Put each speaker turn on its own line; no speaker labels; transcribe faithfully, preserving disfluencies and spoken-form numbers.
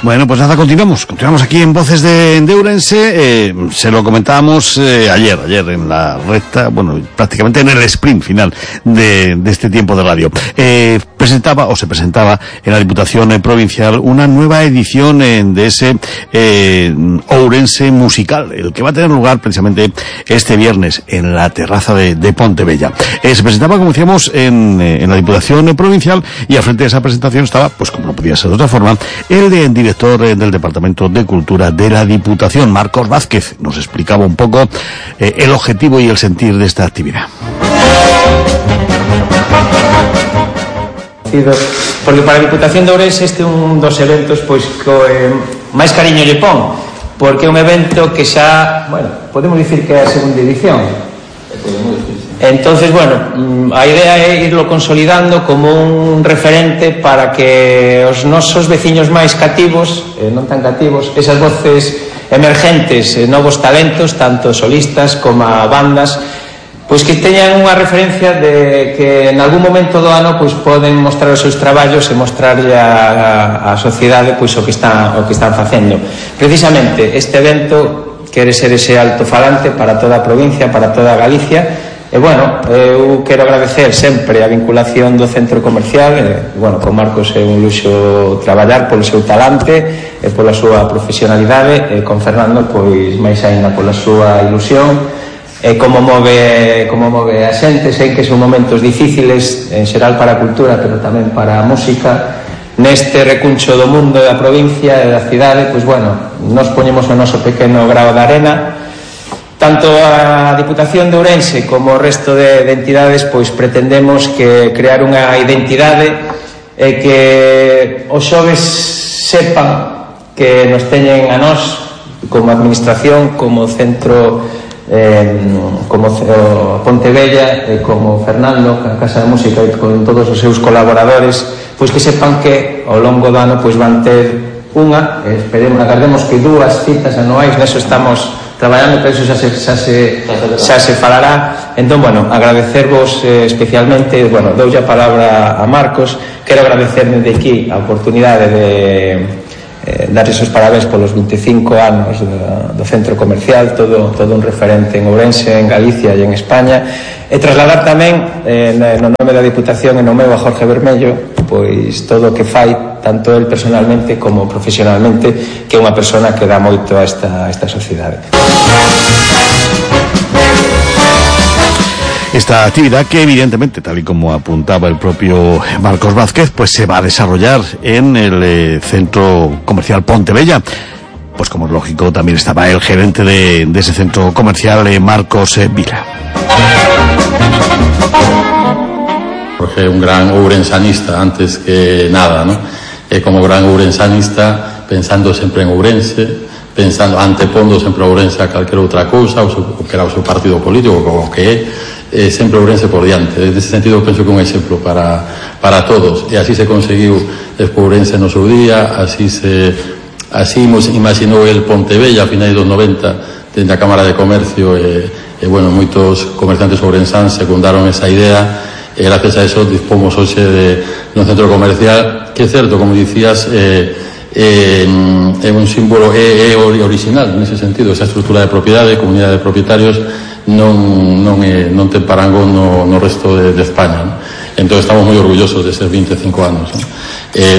Bueno, pues nada, continuamos. Continuamos aquí en Voces de, de Ourense. Eh, se lo comentábamos eh, ayer, ayer en la recta, bueno, prácticamente en el sprint final de, de este tiempo de radio. Eh, presentaba, o se presentaba en la Diputación eh, Provincial, una nueva edición eh, de ese eh, Ourense musical, el que va a tener lugar precisamente este viernes en la terraza de, de Pontebella. Eh, se presentaba, como decíamos, en, eh, en la Diputación eh, Provincial, y al frente de esa presentación estaba, pues como no podía ser de otra forma, el de, director eh, del Departamento de Cultura de la Diputación, Marcos Vázquez. Nos explicaba un poco eh, el objetivo y el sentir de esta actividad.
Porque para a Diputación de Ourense este é un dos eventos pois que eh, máis cariño lle pon, porque é un evento que xa, bueno, podemos dicir que é a segunda edición. Entonces, bueno, a idea é irlo consolidando como un referente para que os nosos veciños máis cativos, eh, non tan cativos, esas voces emergentes, eh, novos talentos, tanto solistas como a bandas, pois que teñan unha referencia de que en algún momento do ano pois poden mostrar os seus traballos e mostrarlle a, a, a sociedade pois o que están o que están facendo. Precisamente este evento quere ser ese altofalante para toda a provincia, para toda a Galicia. E, bueno, eu quero agradecer sempre a vinculación do centro comercial. E, bueno, con Marcos é un luxo traballar polo seu talante e pola súa profesionalidade, e con Fernando, pois, máis aínda pola súa ilusión e como move, como move a xente. Sei que son momentos difíciles, en xeral para a cultura, pero tamén para a música. Neste recuncho do mundo da provincia e da cidade, pois, bueno, nos poñemos o noso pequeno grao de arena. Tanto a Diputación de Ourense como o resto de, de entidades pois pretendemos que crear unha identidade e que os xoves sepan que nos teñen a nós como administración, como centro, eh, como Pontebella e como Fernando, a Casa de Música, e con todos os seus colaboradores, pois que sepan que ao longo do ano pois van ter unha, esperemos, agardemos que dúas citas anuais, neso estamos traballando, pero eso xa se, xa se, xa se falará. Entón, bueno, agradecervos eh, especialmente, bueno, doulle a palabra a Marcos. Quero agradecer desde aquí a oportunidade de eh, darles os parabéns polos veinticinco anos do, do centro comercial, todo, todo un referente en Ourense, en Galicia e en España, e trasladar tamén eh, no nome da Diputación e no meu a Jorge Bermello, pois todo o que fai tanto el personalmente como profesionalmente, que é unha persona que dá moito a esta, a esta sociedade.
Esta actividad, que evidentemente, tal y como apuntaba el propio Marcos Vázquez, pues se va a desarrollar en el eh, centro comercial Pontebella. Pues como es lógico, también estaba el gerente de, de ese centro comercial, eh, Marcos eh, Vila.
Jorge, un gran ourensanista antes que nada, ¿no? E como gran ourensanista, pensando sempre en Ourense, pensando, antepondo sempre a Ourense a calquera outra cousa, o, seu, o que era o seu partido político, o que é, eh, sempre Ourense por diante. En ese sentido, penso que é un exemplo para, para todos. E así se conseguiu despois Ourense no seu día, así se así imaginou el Pontebella a finais dos noventa, dende a Cámara de Comercio, e, e bueno, moitos comerciantes ourensáns secundaron esa idea. E gracias a eso dispomos hoxe de, de un centro comercial que é certo, como dicías, é, é, é un símbolo, é, é original nese sentido. Esa estrutura de propiedade, comunidade de propietarios, non, non, é, non ten parangón no, no resto de, de España, ¿no? Entón estamos moi orgullosos de ser veinticinco anos, ¿no? Eh,